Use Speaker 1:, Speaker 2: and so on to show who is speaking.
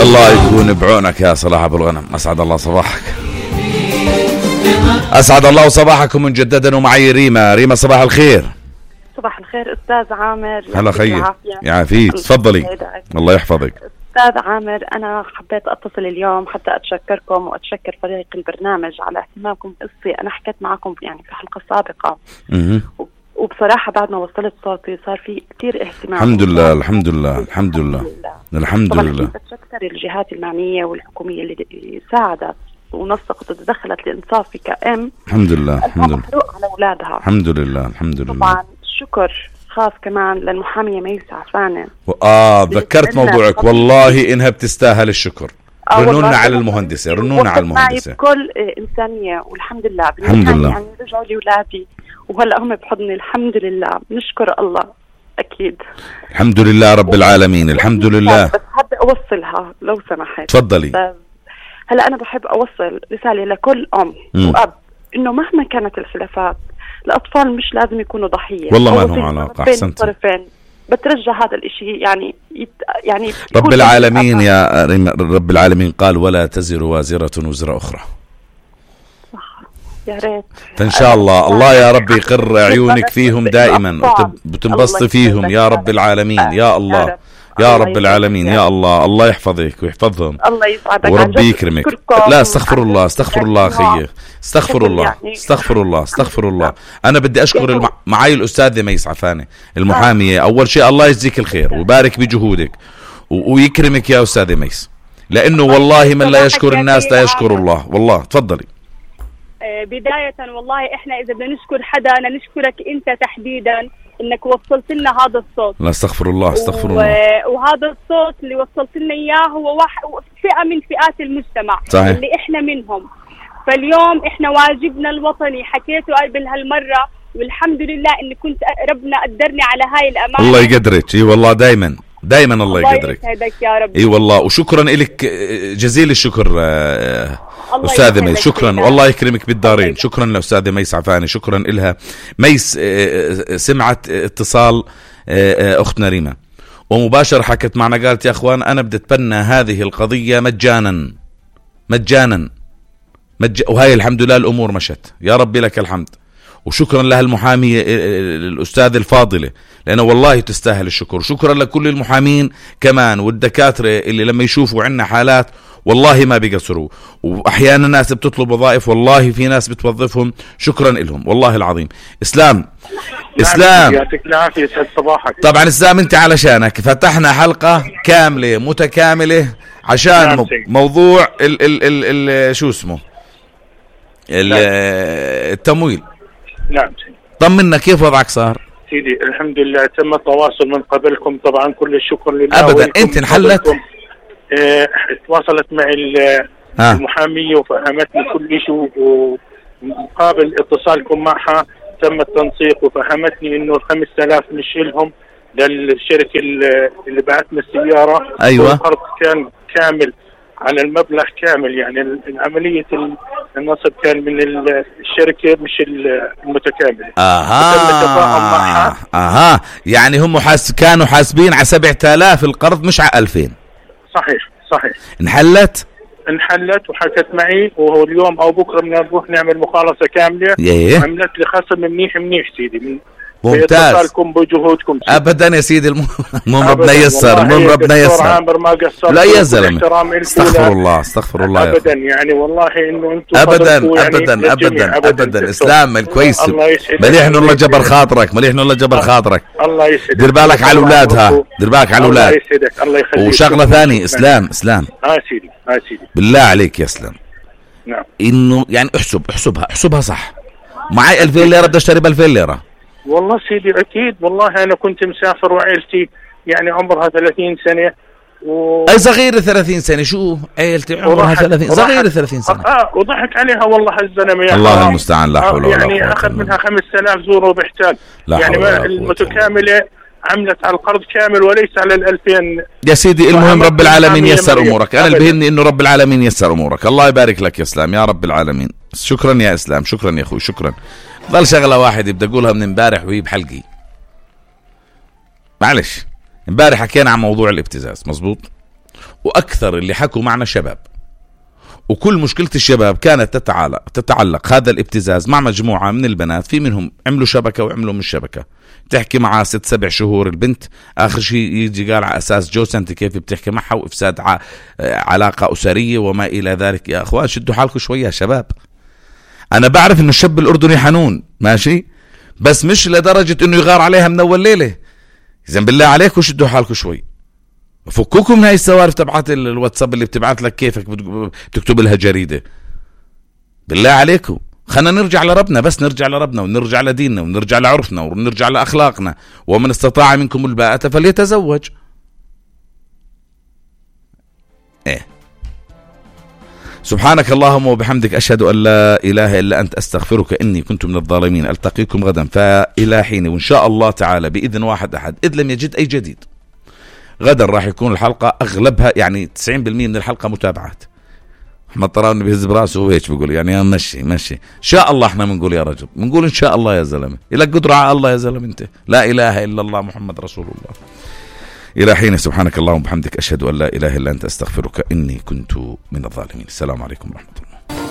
Speaker 1: الله يكون بعونك يا صلاح أبو الغنم. أسعد الله صباحك. أسعد الله صباحكم مجددا. ومعي ريما صباح الخير.
Speaker 2: صباح الخير أستاذ عامر.
Speaker 1: هلا خير يعافيك. تفضلي. الله يحفظك.
Speaker 2: أستاذ عامر، أنا حبيت أتصل اليوم حتى أتشكركم وأتشكر فريق البرنامج على اهتمامكم بقصتي. أنا حكيت معكم يعني في حلقة سابقة وبصراحة بعد ما وصلت صوتي صار في كتير اهتمام.
Speaker 1: الحمد لله الحمد لله الحمد لله الحمد لله.
Speaker 2: بتشكر الجهات المعنية والحكومية اللي ساعدت ونسقت وتدخلت لإنصاف في كأم.
Speaker 1: الحمد لله الحمد لله
Speaker 2: على أولادها.
Speaker 1: الحمد لله الحمد لله.
Speaker 2: طبعا شكر خاص كمان للمحامية ميس عفانة.
Speaker 1: ذكرت موضوعك، والله إنها بتستاهل الشكر. رنونا على المهندسة، رنونا على المهندسة
Speaker 2: بكل إنسانية. والحمد لله
Speaker 1: الحمد لله.
Speaker 2: يعني رجعوا لي ولادي وهلأ هم بحضني. الحمد لله نشكر الله. أكيد
Speaker 1: الحمد لله رب العالمين. الحمد لله.
Speaker 2: بس حابة أوصلها لو سمحت.
Speaker 1: تفضلي.
Speaker 2: هلأ أنا بحب أوصل رسالة لكل أم وأب إنه مهما كانت الخلافات الأطفال مش لازم يكونوا ضحية.
Speaker 1: والله ما لهم علاقة. أحسنت.
Speaker 2: بترجى هذا الاشي يعني
Speaker 1: رب العالمين يا رب العالمين قال ولا تزر وازرة وزر أخرى.
Speaker 2: يا ريت.
Speaker 1: فإن شاء الله يا رب يقر عيونك فيهم دائما وتنبسطي فيهم يا رب العالمين. يا الله يا رب العالمين. يا الله يحفظك ويحفظهم.
Speaker 2: الله يسعدك
Speaker 1: وربي يكرمك. لا استغفر الله أخي. استغفر الله. أنا بدي أشكر معي الأستاذة ميس عفانة المحامية. أول شيء الله يجزيك الخير ويبارك بجهودك ويكرمك يا أستاذة ميس، لأنه والله من لا يشكر الناس لا يشكر الله. والله تفضلي.
Speaker 3: بداية والله إحنا إذا بدنا نشكر حدا أنا نشكرك أنت تحديدا إنك وصلت لنا هذا الصوت.
Speaker 1: لا استغفر الله
Speaker 3: وهذا الصوت اللي وصلت لنا إياه هو فئة من فئات المجتمع.
Speaker 1: صحيح.
Speaker 3: اللي إحنا منهم. فاليوم إحنا واجبنا الوطني حكيته قبل هالمرة، والحمد لله إن كنت ربنا قدرني على هاي الأمانة.
Speaker 1: الله يقدرك. اي والله دايما الله يقدرك.
Speaker 3: يسعدك يا رب.
Speaker 1: اي والله. وشكرا لك جزيل الشكر أستاذة ميس. شكرا والله يكرمك بالدارين. شكرا لأستاذة ميس عفانة. شكرا إلها. ميس سمعت اتصال أختنا ريما ومباشر حكت معنا قالت يا أخوان أنا بدي أتبنى هذه القضية مجانا وهي الحمد لله الأمور مشت. يا ربي لك الحمد. وشكرا لها المحامية الأستاذ الفاضلة لأنه والله تستاهل الشكر. شكرا لكل المحامين كمان والدكاترة اللي لما يشوفوا عنا حالات والله ما بيقصروا، وأحيانا ناس بتطلب وظائف والله في ناس بتوظفهم. شكرا لهم والله العظيم. إسلام
Speaker 4: يعطيك العافية. يسعد صباحك.
Speaker 1: طبعا إسلام أنت علشانك فتحنا حلقة كاملة متكاملة عشان موضوع شو اسمه التمويل.
Speaker 4: نعم.
Speaker 1: طمنا كيف وضعك صار؟
Speaker 4: سيدي الحمد لله تم التواصل من قبلكم طبعا كل الشكر لله.
Speaker 1: أبدا أنت انحلت؟
Speaker 4: تواصلت معي المحامية وفهمتني كل شيء، ومقابل اتصالكم معها تم التنسيق وفهمتني انه 5000 مش لهم للشركة اللي بعتنا السيارة.
Speaker 1: أيوة.
Speaker 4: والقرض كان كامل على المبلغ كامل، يعني عملية النصب كان من الشركة مش المتكاملة.
Speaker 1: يعني هم كانوا حاسبين على 7000 القرض مش على 2000.
Speaker 4: صحيح.
Speaker 1: انحلت
Speaker 4: وحكت معي، وهو اليوم او بكره بدنا نروح نعمل مخالصة كاملة. عملت لي خصم منيح سيدي.
Speaker 1: ممتاز.
Speaker 4: بجهودكم
Speaker 1: ابدا يا سيدي. المهم ربنا ييسر. لا يا زلمه استغفر الله
Speaker 4: ابدا يعني والله انه انتم
Speaker 1: ابدا اسلام الكويس. مليح انه الله جبر خاطرك.
Speaker 4: الله يسعدك.
Speaker 1: دير بالك على اولادها.
Speaker 4: الله يسعدك. الله يخليك.
Speaker 1: وشغله ثانيه اسلام
Speaker 4: سيدي
Speaker 1: بالله عليك يا اسلام.
Speaker 4: نعم.
Speaker 1: انه يعني احسبها صح. معي 2000 ليره بدي اشتري ب 2000 ليره.
Speaker 4: والله سيدي أكيد. والله أنا كنت مسافر وعائلتي يعني عمرها 30 سنة
Speaker 1: أي صغيرة 30 سنة. شو عائلتي عمرها 30 صغيرة 30 سنة.
Speaker 4: وضحك عليها والله هالزلمة.
Speaker 1: الله المستعان. لا حول ولا قوة.
Speaker 4: يعني أخذ منها 5000 زور وبحتاج. يعني المتكاملة عملت على القرض كامل وليس على 2000
Speaker 1: يا سيدي. المهم رب العالمين يسر أمورك. أنا اللي بهمني إنه رب العالمين يسر أمورك. الله يبارك لك يا إسلام يا رب العالمين. شكرا يا إسلام. شكرا يا أخوي. شكرا. ضل شغلة واحدة بدي أقولها من امبارح وهي بحلقي. معلش امبارح حكينا عن موضوع الابتزاز مزبوط، وأكثر اللي حكوا معنا شباب، وكل مشكلة الشباب كانت تتعلق هذا الابتزاز مع مجموعة من البنات، في منهم عملوا شبكة وعملوا من شبكة، تحكي معها 6-7 شهور البنت، آخر شيء يجي قال على أساس جوز أنت كيف بتحكي معها، وإفساد علاقة أسرية وما إلى ذلك. يا أخوان شدوا حالكم شوية يا شباب. أنا بعرف إنه الشاب الأردني حنون ماشي، بس مش لدرجة إنه يغار عليها من أول ليلة. إذن بالله عليكم شدوا حالكم شوي، فكوكم من هاي السوالف تبعت الواتساب اللي بتبعت لك كيفك بتكتب لها جريدة. بالله عليكم خلنا نرجع لربنا، بس نرجع لربنا ونرجع لديننا ونرجع لعرفنا ونرجع لأخلاقنا. ومن استطاع منكم الباءة فليتزوج. سبحانك اللهم وبحمدك أشهد أن لا إله إلا أنت أستغفرك إني كنت من الظالمين. ألتقيكم غدا فإلى حين، وإن شاء الله تعالى بإذن واحد أحد إذ لم يجد أي جديد. غدا راح يكون الحلقة أغلبها يعني 90% من الحلقة متابعات. أحمد طراوني بيهز براسه وهيك بيقول يعني مشي إن شاء الله. إحنا بنقول يا رجل، بنقول إن شاء الله يا زلمة. إلك قدرة على الله يا زلمة أنت. لا إله إلا الله محمد رسول الله. إلى حين، سبحانك اللهم وبحمدك أشهد أن لا إله إلا أنت أستغفرك إني كنت من الظالمين. السلام عليكم ورحمة الله.